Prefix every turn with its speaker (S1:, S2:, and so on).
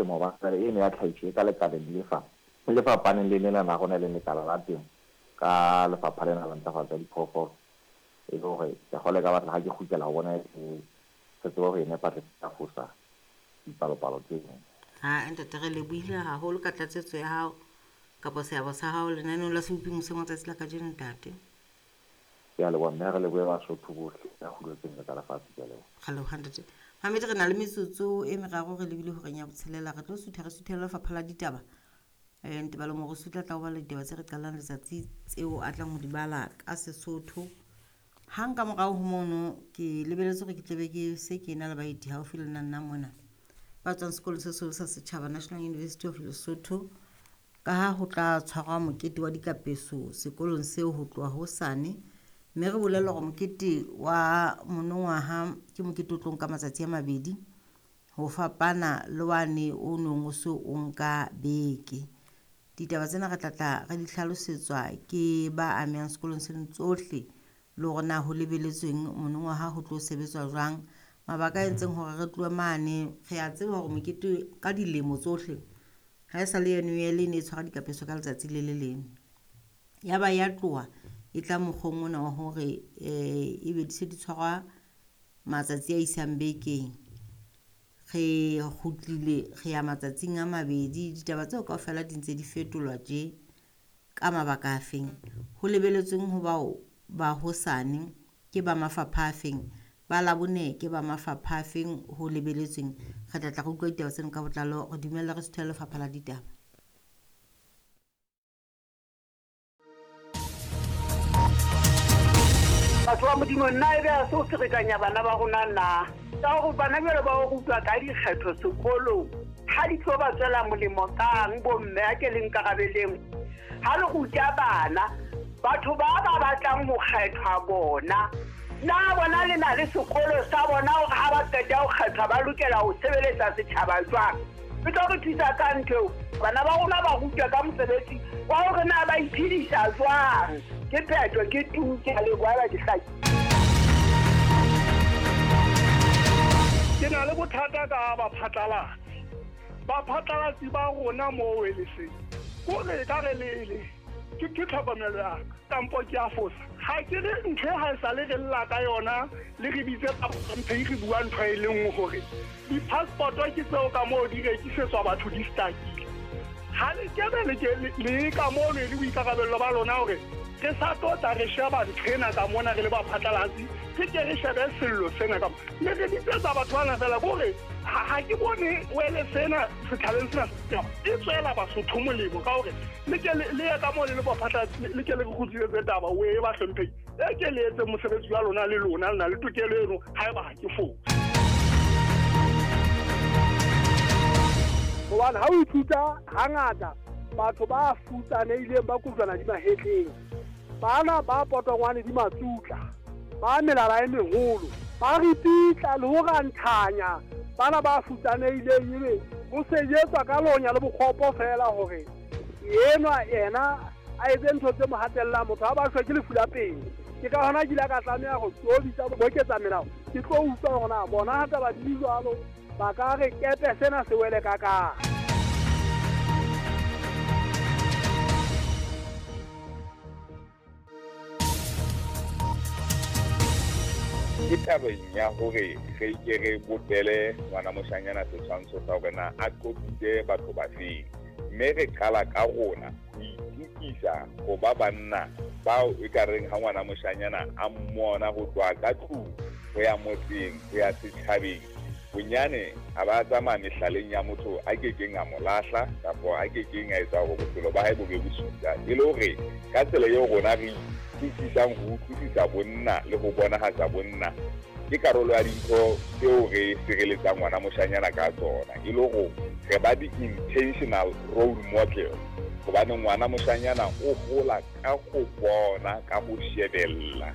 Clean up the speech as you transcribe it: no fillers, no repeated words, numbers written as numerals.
S1: temo hobane jwale eno ya tlhahiso e ka lekaleng le fa le fapaneng le lena la rona e leng lekala la temo ka lefapha lena la ntlafatso ya diphoofolo. E le hore ke a kgolwa e ka batla ha ke kgutlela ho bona re tsebe ho e nepa re sa fosa dipalopalo tseno.
S2: Ha ntate re lebohile haholo ka tlatsetso ya hao kapa seabo sa hao lenaneong la Sebopi Moseng wa tsatsi la kajeno ntate.
S1: Ke a leboha mme re lebohe Basotho bohle ka kgulo tse ntle tsa lefatshe. Ke a leboha.
S2: Re leboha ntate. Mamedi re na le metsotso e meraro re lebile horeng ya botshelela. Re tlo sutha re suthela lefapha la ditaba. Ntebalo Morusu o tla tla ho bala ditaba tse re qalang letsatsi tseo a tlang ho di bala ka Sesotho. Hang ka morao ho mono ke lebeletse hore ke tlebe ke se ke na le baeti haufi le nna nna mona ba tswang sekolong se seholo sa setjhaba National University of Lesotho ka ha ho tla tshwarwa mokete wa dikapeso sekolong seo ho tloha hosane mme re bolellwa hore mokete wa monongwaha ke mokete o tlo nka matsatsi a mabedi ho fapana le wane o nong o se o nka beke. Ditaba tsena re tla tla re di hlalosetswa ke ba amehang sekolong seno tsohle le hore na ho lebeletsweng monongwaha ho tlo sebetswa jwang. Mabaka a entseng hore re tlohe mane re a tseba hore mokete ka dilemo tsohle ha e sa le NUL e ne e tshwara dikapeso ka letsatsi le le leng. Ya ba ya tloha e tla mokgweng ona wa hore ebe di se di tshwarwa matsatsi a isang bekeng. Re kgutlile re ya matsatsing a mabedi. Ditaba tseo kaofela di ntse di fetolwa tje ka mabaka a feng. Ho lebeletsweng ho bao ba hosane ke ba mafapha a feng, ba Labone ke ba mafapha a feng ho lebeletsweng. Re tla tla re utlwa ditaba tseno ka botlalo. Re dumelle re suthele lefapha la ditaba.
S3: Batho ba Modimo, nna e be a se o ferekanya bana ba rona na? Ka hore bana jwale ba o rutwa ka dikgetho sekolong, ha di tlo ba tswela molemo kang bomme a ke le nkarabeleng. Ha le ruta bana, batho ba ba batlang ho kgethwa bona, na bona le na le sekolo sa bona hore ha ba qeta ho kgethwa ba lokela ho sebeletsa setjhaba jwang? E tlo re thusa ka ntho eo. Bana ba rona ba rutwa ka mosebetsi wa hore na ba iphedisa jwang. Ke phetho, ke tu, ke a leboha ba ke hlaki.
S4: Ke na le bothata ka baphatlalatsi. Baphatlalatsi ba rona moo e le seng. Kore e ka re le ke tlhokomelo ya ka. Kampo ke a fosa. Ha ke re ntho e ha e sa le re lla ka yona, le re bitse mphe re bua ntho e le nngwe hore di-passport ke tseo ka moo di rekisetswa batho di stakile. Ha le kebe le ke le ka moo le le boikarabello ba lona hore re sa tlo tla re sheba ntho ena ka mona re le baphatlalatsi, re ke re shebe sello sena ka mona. Le re bitsetsa batho bana fela kore ha ke bone wele sena setjhabeng sena e tswela Basotho molemo ka hore le ke le ye ka moo le le baphatlalatsi, le ke le re kgutlisetse taba o e ba hlomphehi. E ke le etse mosebetsi wa lona le lona le na le tokelo eno haeba ha ke fose.
S5: Hobane ha o ithuta hangata batho ba futsanehileng ba kojwana di mahetleng, bana ba potongwane di matsutla, ba melala e meholo, ba ripitla le ho ranthanya bana ba futsanehileng, ebe ho sejetswa ka lonya le bokgopo fela hore enwa yena a etse ntho tse mo hatellang. Motho ha ba shwe ke lefu la pele. Ke ka hona ke ile ka tlameha ho tlo bitsa boketsa melao, ke tlo utlwa hore na bona ha taba di le jwalo ba ka re kepe sena se wele ka kae.
S6: Ke tabeng ya hore re ke re bopele ngwana moshanyana setshwantsho sa hore na a qoqitse batho ba feng, mme re qala ka rona ho itukisa ho ba banna bao e ka reng ha ngwana moshanyana a mmona ho tloha ka tlung ho ya motseng ho ya setjhabeng, bonyane a ba tsamaya mehlaleng ya motho a kekeng a mo lahla kapa a kekeng a etsa hore bophelo ba hae bo be bosula. E le hore ka tsela eo rona re itukisang ho utlwisisa bonna le ho bonahatsa bonna ke karolo ya dintho tseo re sireletsang ngwana moshanyana ka tsona, e le hore re ba di-intentional role model, hobane ngwana moshanyana o hola ka ho bona, ka ho shebella.